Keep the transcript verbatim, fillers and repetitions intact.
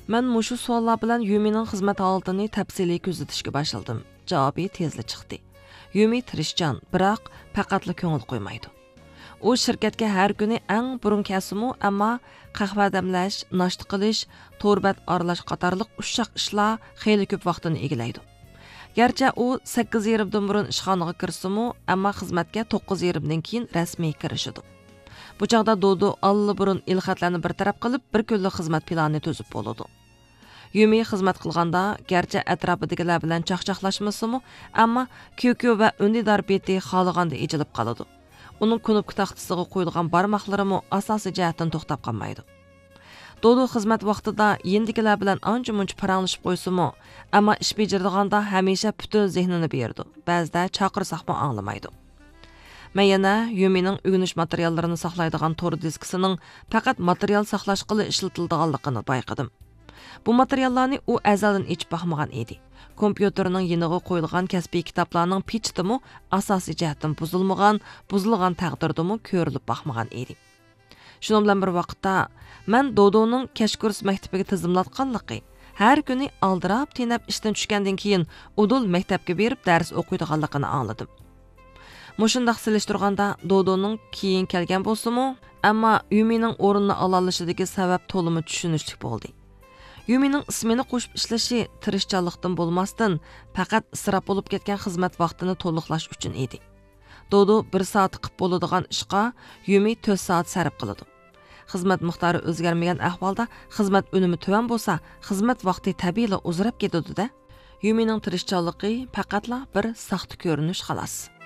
مەن مۇشۇ سوئاللار بىلەن يۈمىنىڭ خىزمەت ھالىتىنى تەپسىلىي كۆزىتىشكە باشلىدىم. جاۋابى تېزلا چىقتى. يۈمى تىرىشچان، بىراق پەقەتلا كۆڭۈل قويمايدۇ. ئۇ شىركەتكە ھەر كۈنى ئەڭ بۇرۇن كەلسىمۇ، ئەمما قەھۋە دەملەش، ناشتا قىلىش، تور بەت ئارىلاش قاتارلىق ئۇششاق ئىشلار خېلى كۆپ ۋاقتىنى ئىگىلەيدۇ. گەرچە ئۇ سەككىز يېرىمدىن بۇرۇن ئىشخانىغا كىرسىمۇ، ئەمما خىزمەتكە توققۇز يېرىمدىن كېيىن رەسمىي كىرىشىدۇ. بۇ چاغدا دودو ئاللىبۇرۇن ئېلخەتلەرنى بىر تەرەپ قىلىپ، بىر كۈنلۈك خىزمەت پىلانى تۈزۈپ بولىدۇ. يۈمى خىزمەت قىلغاندا، گەرچە ئەتراپىدىكىلەر بىلەن چاقچاقلاشمىسىمۇ، ئەمما كيۇكيۇ ۋە ئۈندىدار بېتى خالىغاندا ئېچىلىپ قالىدۇ. ئۇنىڭ كۇنۇپكا تاختىسىغا قويۇلغان بارماقلىرىمۇ ئاساسىي جەھەتتىن توختاپ قالمايدۇ. دودو خىزمەت ۋاقتىدا يېنىدىكىلەر بىلەن ئانچە-مۇنچە پاراڭلىشىپ قويسىمۇ، ئەمما ئىش بېجىرىدىغاندا ھەمىشە پۈتۈن زېھنىنى بېرىدۇ، بەزىدە چاقىرساقمۇ ئاڭلىمايدۇ. مەن يەنە يۈمىنىڭ ئۆگىنىش ماتېرىياللىرىنى ساقلايدىغان تور دىسكىسىنىڭ پەقەت ماتېرىيال ساقلاشقىلا ئىشلىتىلىدىغانلىقىنى بايقىدىم. بۇ ماتېرىياللارنى ئۇ ئەزەلدىن ئېچىپ باقمىغان ئىدى. كومپيۇتېرنىڭ يېنىغا قويۇلغان كەسپىي كىتابلارنىڭ پېچىتىمۇ ئاساسىي جەھەتتىن بۇزۇلمىغان، بۇزۇلغان تەقدىردىمۇ كۆرۈلۈپ باقمىغان ئىدى. شۇنىڭ بىلەن بىر ۋاقىتتا، مەن دودونىڭ كەچ كۇرس مەكتىپىگە تىزىملاتقانلىقى، ھەر كۈنى ئالدىراپ تېنەپ ئىشتىن چۈشكەندىن كېيىن ئۇدۇل مەكتەپكە بېرىپ دەرس ئوقۇيدىغانلىقىنى ئاڭلىدىم. مۇشۇنداق سېلىشتۇرغاندا، دودونىڭ كېيىن كەلگەن بولسىمۇ، ئەمما يۈمىنىڭ ئورنىنى ئالالىشىدىكى سەۋەب تولىمۇ چۈشىنىشلىك بولدى. يۈمىنىڭ ئىسمېنا قوشۇپ ئىشلىشى تىرىشچانلىقتىن بولماستىن، پەقەت ئىسراپ بولۇپ كەتكەن خىزمەت ۋاقتىنى تولۇقلاش ئۈچۈن ئىدى. دودو بىر سائەتتە قىپ بولىدىغان ئىشقا يۈمى تۆت سائەت سەرپ قىلىدۇ. خىزمەت مىقدارى ئۆزگەرمىگەن ئەھۋالدا خىزمەت ئۈنۈمى تۆۋەن بولسا، خىزمەت ۋاقتى تەبىئىيلا ئۇزىراپ كېتىدۇ-دە. يۈمىنىڭ تىرىشچانلىقى پەقەتلا بىر ساختا كۆرۈنۈش، خالاس.